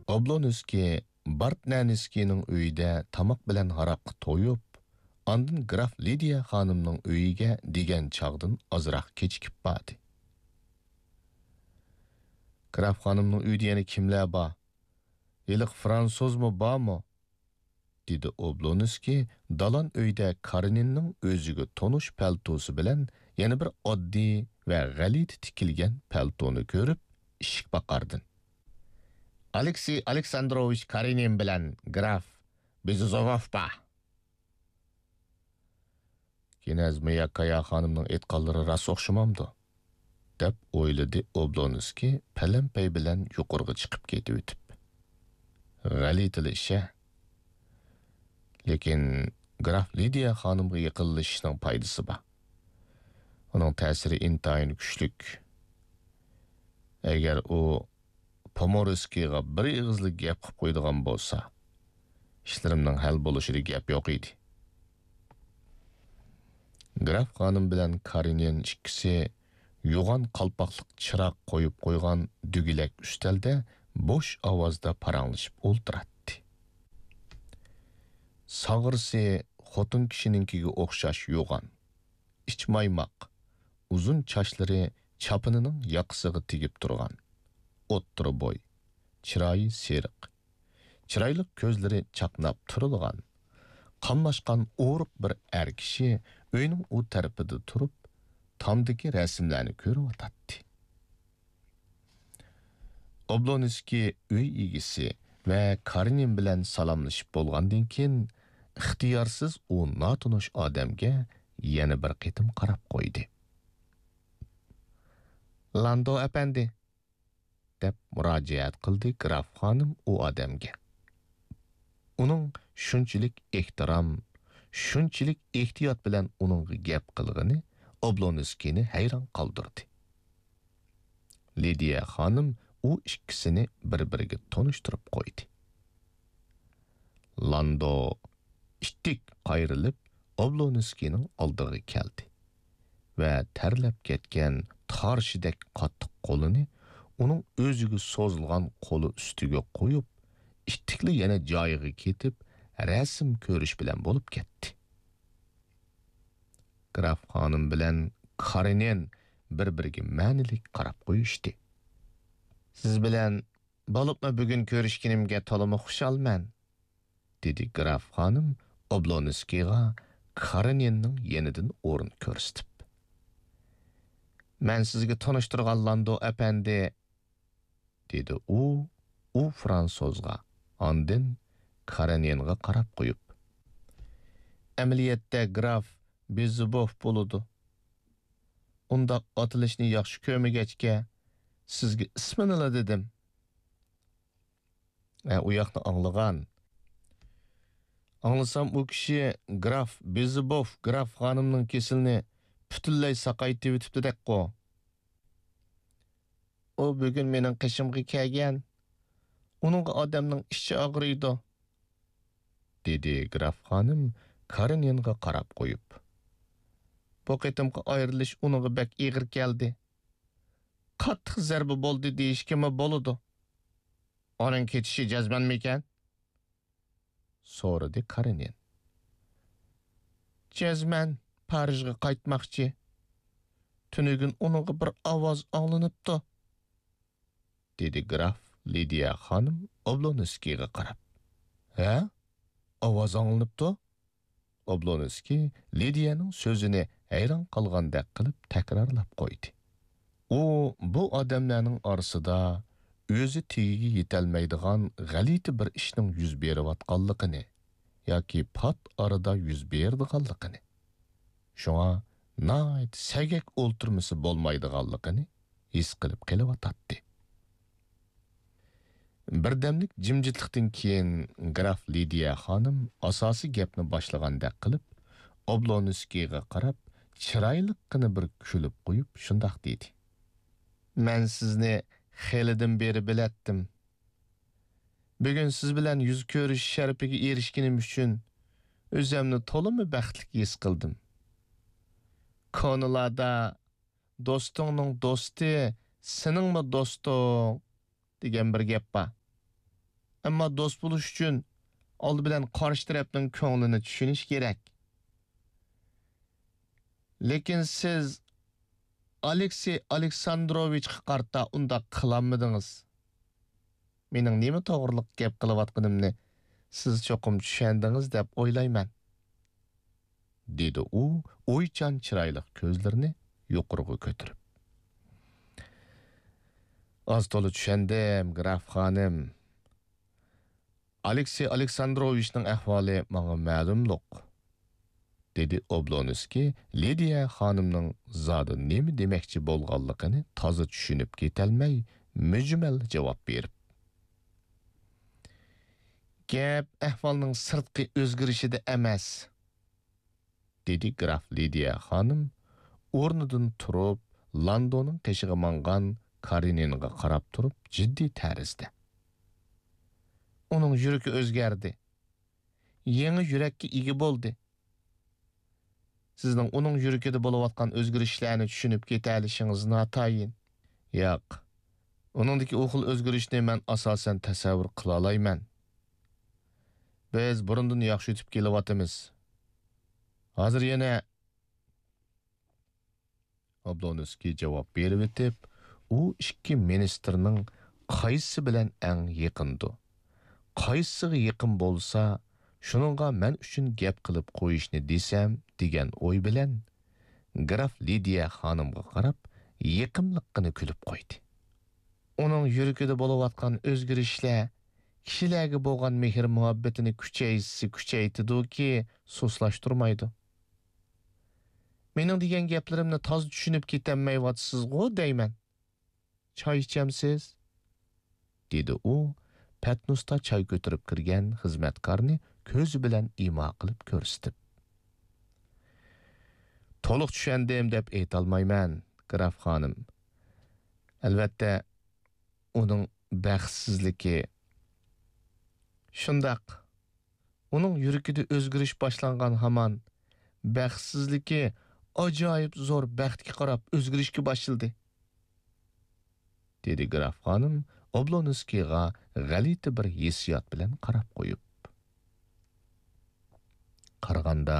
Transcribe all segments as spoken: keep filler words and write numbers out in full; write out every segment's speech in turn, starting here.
ئوبلونسكىي بارتنەنسكىينىڭ ئۆيىدە تاماق بىلەن ھاراققا تويۇپ، ئاندىن گراف لىدىيە خانىمنىڭ ئۆيىگە دېگەن چاغدىن ئازراق كېچىكىپ باردى. گراف خانىمنىڭ ئۆيىدە يەنە كىملەر بار؟ ھېلىقى فرانسۇزمۇ بارمۇ؟ دېدى ئوبلونسكىي دالان ئۆيدە كارېنىننىڭ ئۆزىگە تونۇش پەلتوسى بىلەن يەنە بىر ئاددىي ۋە غەلىتە تىكىلگەن پەلتونى كۆرۈپ، ئىشىك پاقاردىن. ئالېكسېي ئالېكساندروۋىچ كارېنىن بىلەن گراف بېزوزوف بار. كىنەز مىياكايا خانىمنىڭ ئېيتقانلىرى راست ئوخشىمامدۇ؟ دەپ ئويلىدى ئوبلونسكىي پەلەمپەي بىلەن يۇقىرىغا چىقىپ كېتىۋېتىپ. غەلىتىلا ئىش-ە. لېكىن گراف لىدىيە خانىمغا يېقىنلىشىشنىڭ پايدىسى بار. ئۇنىڭ تەسىرى ئىنتايىن كۈچلۈك. ئەگەر ئۇ پومورسكىيغا بىر ئېغىزلا گەپ قىلىپ قويىدىغان بولسا، ئىشلىرىمنىڭ ھەل بولۇشىدا گەپ يوق ئىدى. گراف خانىم بىلەن كارېنىن ئىككىسى يوغان قالپاقلىق چىراغ قويۇپ قويغان دۈگىلەك ئۈستەلدە بوش ئاۋازدا پاراڭلىشىپ ئولتۇراتتى. ساغرىسى خوتۇن كىشىنىڭكىگە ئوخشاش يوغان، ئىچ مايماق، ئۇزۇن چاچلىرى چاپىنىنىڭ ياقىسىغا تېگىپ تۇرغان، ئوتتۇرا بوي، چىرايى سېرىق، چىرايلىق كۆزلىرى چاقناپ تۇرىدىغان، قاملاشقان ئورۇق بىر ئەر كىشى ئۆينىڭ ئۇ تەرىپىدە تۇرۇپ، تامدىكى رەسىملەرنى كۆرۈۋاتاتتى. ئوبلونسكىي ئۆي ئىگىسى ۋە كارېنىن بىلەن سالاملىشىپ بولغاندىن كېيىن، ئىختىيارسىز ئۇ ناتونۇش ئادەمگە يەنە بىر قېتىم قاراپ قويدى. لاندو ئەپەندى، دەپ مۇراجىئەت قىلدى گراف خانىم ئۇ ئادەمگە. ئۇنىڭ شۇنچىلىك ئېھتىرام، شۇنچىلىك ئېھتىيات بىلەن ئۇنىڭغا گەپ قىلغىنى ئوبلونسكىينى ھەيران قالدۇردى. لىدىيە خانىم ئۇ ئىككىسىنى بىر-بىرىگە تونۇشتۇرۇپ قويدى. لاندو ئىتتىك قايرىلىپ ئوبلونسكىينىڭ ئالدىغا كەلدى ۋە تەرلەپ كەتكەن تارشىدەك قاتتىق قولىنى ئۇنىڭ ئۆزىگە سوزۇلغان قولى ئۈستىگە قويۇپ، ئىتتىكلا يەنە جايىغا كېتىپ، رەسىم كۆرۈش بىلەن بولۇپ كەتتى. گراف خانىم بىلەن كارېنىن بىر-بىرىگە مەنىلىك قاراپ قويۇشتى. سىز بىلەن بولۇپمۇ بۈگۈن كۆرۈشكىنىمگە تولىمۇ خۇشالمەن، دېدى گراف خانىم ئوبلونسكىيغا كارېنىننىڭ يېنىدىن ئورۇن كۆرسىتىپ. مەن سىزگە تونۇشتۇرغان لاندو ئەپەندى، دېدى ئۇ، ئۇ فرانسۇزغا، ئاندىن كارېنىنغا قاراپ قويۇپ. ئەمەلىيەتتە گراف بېزوبوف بولىدۇ. ئۇنداق ئاتىلىشنى ياخشى كۆرمىگەچكە، سىزگە ئىسمىنىلا دېدىم. ئە، ئۇ ياقنى ئاڭلىغان. ئاڭلىسام، ئۇ كىشى گراف بېزىبوف گراف خانىمنىڭ كېسىلىنى پۈتۈنلەي ساقايتىۋېتىپتىدەكقۇ. ئۇ بۈگۈن مېنىڭ قېشىمغا كەلگەن. ئۇنىڭغا ئادەمنىڭ ئىچى ئاغرىيدۇ، دېدى گراف خانىم كارېنىنغا قاراپ قويۇپ. بۇ قېتىمقى ئايرىلىش ئۇنىڭغا بەك ئېغىر كەلدى. قاتتىق زەربە بولدى دېيىشكىمۇ بولىدۇ. ئۇنىڭ كېتىشى جەزمەنمىكەن؟ سورىدى كارېنىن. جەزمەن پارىژغا قايتماقچى. تۈنۈگۈن ئۇنىڭغا بىر ئاۋاز ئاڭلىنىپتۇ، دېدى گراف لىدىيە خانىم ئوبلونسكىيغا قاراپ. ھە؟ ئاۋاز ئاڭلىنىپتۇ؟ ئوبلونسكىي لىدىيەنىڭ سۆزىنى ھەيران قالغاندەك قىلىپ تەكرارلاپ قويدى. ئۇ بۇ ئادەملەرنىڭ ئارىسىدا ئۆزى تېگىگە يېتەلمەيدىغان غەلىتە بىر ئىشنىڭ يۈز بېرىۋاتقانلىقىنى ياكى پات ئارىدا يۈز بېرىدىغانلىقىنى، شۇڭا ناھايىتى سەگەك ئولتۇرمىسا بولمايدىغانلىقىنى ھېس قىلىپ قېلىۋاتاتتى. بىردەملىك جىمجىتلىقتىن كېيىن گراف لىدىيە خانىم ئاساسىي گەپنى باشلىغاندەك قىلىپ، ئوبلونسكىيغا قاراپ، چىرايلىققىنا بىر كۈلۈپ قويۇپ، شۇنداق دېدى: مەن سىزنى خېلىدىن بېرى بىلەتتىم. بۈگۈن سىز بىلەن يۈز كۆرۈشۈش شەرىپىگە ئېرىشكىنىم ئۈچۈن ئۆزۈمنى تولىمۇ بەختلىك ھېس قىلدىم. كونىلاردا «دوستۇڭنىڭ دوستى سېنىڭمۇ دوستۇڭ» دېگەن بىر گەپ بار. ئەمما دوست بولۇش ئۈچۈن ئالدى بىلەن قارشى تەرەپنىڭ كۆڭلىنى چۈشىنىش كېرەك. لېكىن سىز ئالېكسېي ئالېكساندروۋىچقا قارىتا ئۇنداق قىلالمىدىڭىز. مېنىڭ نېمە توغرىلىق گەپ قىلىۋاتقىنىمنى سىز چوقۇم چۈشەندىڭىز دەپ ئويلايمەن، دېدى ئۇ ئويچان چىرايلىق كۆزلىرىنى يۇقىرىغا كۆتۈرۈپ. ئاز تولا چۈشەندىم، گراف خانىم. ئالېكسېي ئالېكساندروۋىچنىڭ ئەھۋالى ماڭا مەلۇملۇق، دېدى ئوبلونسكىي لىدىيە خانىمنىڭ زادى نېمە دېمەكچى بولغانلىقىنى تازا چۈشىنىپ كېتەلمەي، مۈجمەل جاۋاب بېرىپ. گەپ ئەھۋالنىڭ سىرتقى ئۆزگىرىشىدە ئەمەس، دېدى گراف لىدىيە خانىم ئورنىدىن تۇرۇپ، لاندونىڭ قېشىغا ماڭغان كارېنىنغا قاراپ تۇرۇپ جىددىي تەرزدە. ئۇنىڭ يۈرىكى ئۆزگەردى. يېڭى يۈرەككە ئىگە بولدى. سىزنىڭ ئۇنىڭ يۈرىكىدە بولۇۋاتقان ئۆزگىرىشلەرنى چۈشىنىپ كېتەلىشىڭىز ناتايىن. ياق، ئۇنىڭدىكى ئۇ خىل ئۆزگىرىشنى مەن ئاساسەن تەسەۋۋۇر قىلالايمەن. بىز بۇرۇندىن ياخشى ئۆتۈپ كېلىۋاتىمىز. ھازىر يەنە ئابلونسكىي جاۋاب بېرىۋېتىپ، ئۇ ئىككى مىنىستىرنىڭ قايسىسى بىلەن ئەڭ يېقىندۇ، قايسىغا يېقىن بولسا، شۇنىڭغا مەن ئۈچۈن گەپ قىلىپ قويۇشنى دېسەم، دېگەن ئوي بىلەن، گراف لىدىيە خانىمغا قاراپ، يېقىملىققىنە كۈلۈپ قويدى. ئۇنىڭ يۈرىكىدە بولۇۋاتقان ئۆزگىرىشلەر كىشىلەرگە بولغان مېھىر-مۇھەببىتىنى كۈچەيتسە كۈچەيتىدۇكى، سۇسلاشتۇرمايدۇ. مېنىڭ دېگەن گەپلىرىمنى تازا چۈشىنىپ كېتەلمەيۋاتىسىزغۇ دەيمەن. چاي ئىچەمسىز؟ دېدى ئۇ پەتنۇستا چاي كۆتۈرۈپ كىرگەن خىزمەتكارنى كۆزى بىلەن ئىما قىلىپ كۆرسىتىپ. تولۇق چۈشەندىم دەپ ئېيتالمايمەن، گراف خانىم. ئەلۋەتتە، ئۇنىڭ بەختسىزلىكى. شۇنداق. ئۇنىڭ يۈرىكىدە ئۆزگىرىش باشلانغان ھامان، بەختسىزلىكى ئاجايىپ زور بەختكە قاراپ ئۆزگىرىشكە باشلىدى، دېدى گراف خانىم ئوبلونسكىيغا غەلىتە بىر ھېسسىيات بىلەن قاراپ قويۇپ. قارىغاندا،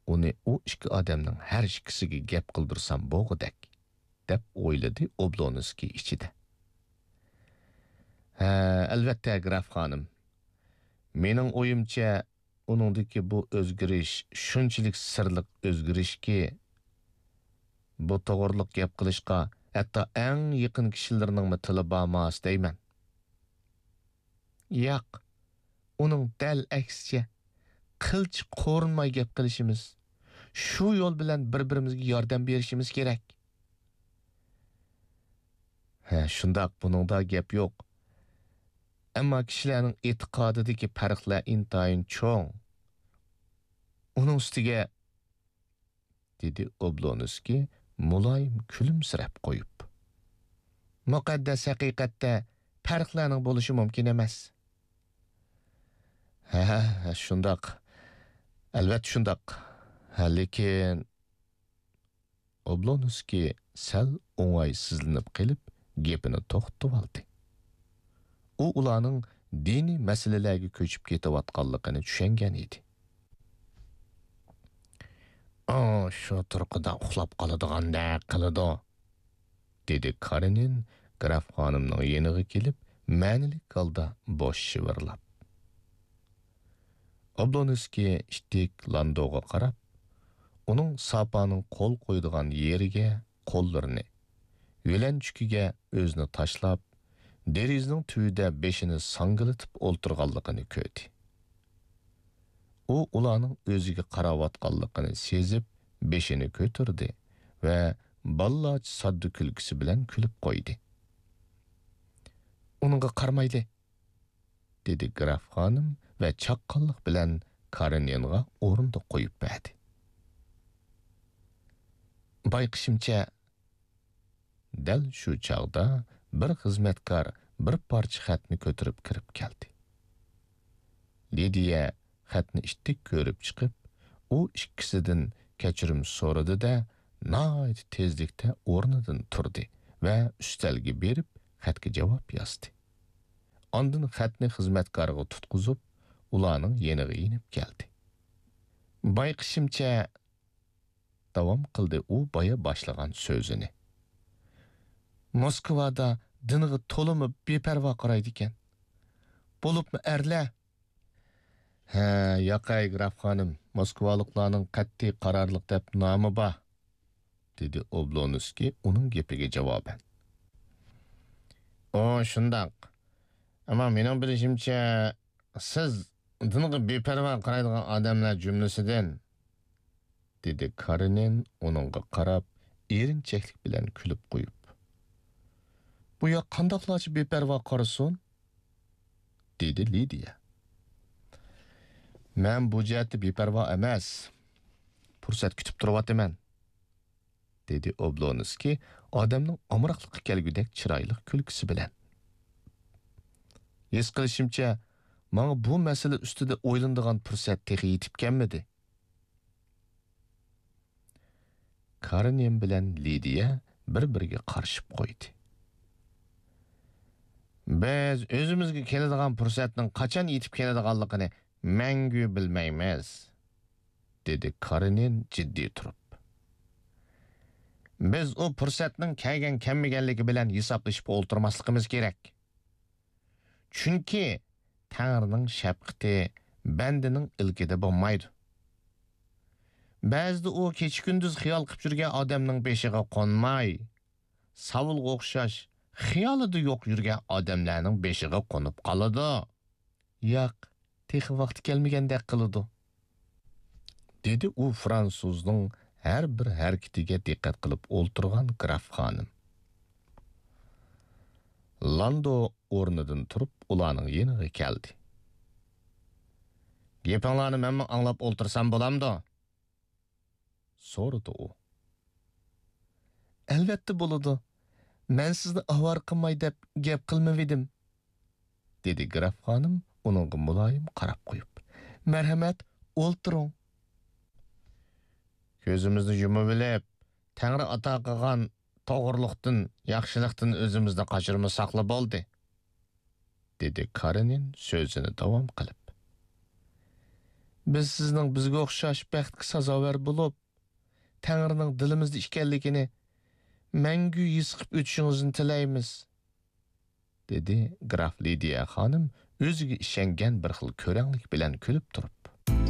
ئۇنى ئۇ ئىككى ئادەمنىڭ ھەر ئىككىسىگە گەپ قىلدۇرسام بولغۇدەك، دەپ ئويلىدى ئوبلونسكىي ئىچىدە. ھە، ئەلۋەتتە، گراف خانىم. مېنىڭ ئويۇمچە، ئۇنىڭدىكى بۇ ئۆزگىرىش شۇنچىلىك سىرلىق ئۆزگىرىشكى، بۇ توغرىلىق گەپ قىلىشقا ھەتتا ئەڭ يېقىن كىشىلىرىنىڭمۇ تىلى بارماس دەيمەن. ياق، ئۇنىڭ دەل ئەكسىچە، قىلچە قورۇنماي گەپ قىلىشىمىز، شۇ يول بىلەن بىر-بىرىمىزگە ياردەم بېرىشىمىز كېرەك. ھە، شۇنداق، بۇنىڭدا گەپ يوق. ئەمما كىشىلەرنىڭ ئېتىقادىدىكى پەرقلەر ئىنتايىن چوڭ. ئۇنىڭ ئۈستىگە، دېدى ئوبلونسكىي مۇلايىم كۈلۈمسىرەپ قويۇپ. مۇقەددەس ھەقىقەتتە پەرقلەرنىڭ بولۇشى مۇمكىن ئەمەس. ھە، ھە، شۇنداق. ئەلۋەتتە شۇنداق. ھە، لېكىن. ئوبلونسكىي سەل ئوڭايسىزلىنىپ قېلىپ، گېپىنى توختىتىۋالدى. ئۇ ئۇلارنىڭ دىنىي مەسىلىلەرگە كۆچۈپ كېتىۋاتقانلىقىنى چۈشەنگەن ئىدى. ئۇ شۇ تۇرقىدا ئۇخلاپ قالىدىغاندەك قىلىدۇ، دېدى كارېنىن گراف خانىمنىڭ يېنىغا كېلىپ، مەنىلىك ھالدا بوش شىۋىرلاپ. ئوبلونسكىي ئىتتىك لاندوغا قاراپ، ئۇنىڭ ساپانىڭ قول قويىدىغان يېرىگە قوللىرىنى، يۆلەنچۈكىگە ئۆزىنى تاشلاپ، دېرىزىنىڭ تۈۋىدە بېشىنى ساڭگىلىتىپ ئولتۇرغانلىقىنى كۆردى. ئۇ ئۇلارنىڭ ئۆزىگە قاراۋاتقانلىقىنى سېزىپ، بېشىنى كۆتۈردى ۋە بالىلارچە ساددا كۈلكىسى بىلەن كۈلۈپ قويدى. ئۇنىڭغا قارىمايلى! دېدى گراف خانىم ۋە چاققانلىق بىلەن كارېنىنغا ئورۇندۇق قويۇپ بەردى. بايقىشىمچە، دەل شۇ چاغدا بىر خىزمەتكار بىر پارچە خەتنى كۆتۈرۈپ كىرىپ كەلدى. لىدىيە خەتنى ئىتتىك كۆرۈپ چىقىپ، ئۇ ئىككىسىدىن كەچۈرۈم سورىدى-دە، ناھايىتى تېزلىكتە ئورنىدىن تۇردى ۋە ئۈستەلگە بېرىپ خەتكە جاۋاب يازدى. ئاندىن خەتنى خىزمەتكارغا تۇتقۇزۇپ، ئۇلارنىڭ يېنىغا يېنىپ كەلدى. بايقىشىمچە، داۋام قىلدى ئۇ بايا باشلىغان سۆزىنى. موسكۋادا دىنغا تولىمۇ بىپەرۋا قارايدىكەن. بولۇپمۇ ئەرلەر. ھە، ياقەي، گراف خانىم، موسكۋالىقلارنىڭ قەتئىي قارارلىق دەپ نامى بار، دېدى ئوبلونسكىي ئۇنىڭ گېپىگە جاۋابەن. ئۇ شۇنداق. ئەمما مېنىڭ بىلىشىمچە، سىز دىنغا بىپەرۋا قارايدىغان ئادەملەر جۈملىسىدىن، دېدى كارېنىن ئۇنىڭغا قاراپ، ئېرىنچەكلىك بىلەن كۈلۈپ قويۇپ. بۇ ياق قانداقلارچە بىپەرۋا قارىسۇن؟ دېدى لىدىيە. مەن بۇ جەھەتتە بىپەرۋا ئەمەس. پۇرسەت كۈتۈپ تۇرۇۋاتىمەن، دېدى ئوبلونسكىي ئادەمنىڭ ئامراقلىققا كەلگۈدەك چىرايلىق كۈلكىسى بىلەن. ھېس قىلىشىمچە، ماڭا بۇ مەسىلە ئۈستىدە ئويلىنىدىغان پۇرسەت تېخى يېتىپ كەلمىدى. كارېنىن بىلەن لىدىيە بىر-بىرىگە قارىشىپ قويدى. بىز ئۆزىمىزگە كېلىدىغان پۇرسەتنىڭ قاچان يېتىپ كېلىدىغانلىقىنى مەڭگۈ بىلمەيمىز، دېدى كارېنىن جىددىي تۇرۇپ. بىز ئۇ پۇرسەتنىڭ كەلگەن-كەلمىگەنلىكى بىلەن ھېسابلىشىپ ئولتۇرماسلىقىمىز كېرەك. چۈنكى تەڭرىنىڭ شەپقىتى بەندىنىڭ ئىلكىدە بولمايدۇ. بەزىدە ئۇ كېچە-كۈندۈز خىيال قىلىپ يۈرگەن ئادەمنىڭ بېشىغا قونماي، ساۋۇلغا ئوخشاش خىيالىدا يوق يۈرگەن ئادەملەرنىڭ بېشىغا قونۇپ قالىدۇ. ياق، تېخى ۋاقتى كەلمىگەندەك قىلىدۇ، دېدى ئۇ فرانسۇزنىڭ ھەر بىر ھەرىكىتىگە دىققەت قىلىپ ئولتۇرغان گراف خانىم. لاندو ئورنىدىن تۇرۇپ ئۇلارنىڭ يېنىغا كەلدى. گېپىڭلارنى مەنمۇ ئاڭلاپ ئولتۇرسام بولامدۇ؟ سورىدى ئۇ. ئەلۋەتتە بولىدۇ. مەن سىزنى ئاۋارە قىلماي دەپ گەپ قىلمىۋىدىم، دېدى گراف خانىم ئۇنىڭغا مۇلايىم قاراپ قويۇپ. مەرھەمەت، ئولتۇرۇڭ. كۆزىمىزنى يۇمۇۋېلىپ، تەڭرى ئاتا قىلغان توغرىلىقتىن، ياخشىلىقتىن ئۆزىمىزنى قاچۇرمىساقلا بولدى، دېدى كارېنىن سۆزىنى داۋام قىلىپ. بىز سىزنىڭ بىزگە ئوخشاش بەختكە سازاۋەر بولۇپ، تەڭرىنىڭ دىلىمىزدا ئىكەنلىكىنى مەڭگۈ ھېس قىلىپ ئۆتۈشىڭىزنى تىلەيمىز، دېدى گراف لىدىيە خانىم ئۆزىگە ئىشەنگەن بىر خىل كۆرەڭلىك بىلەن كۈلۈپ تۇرۇپ.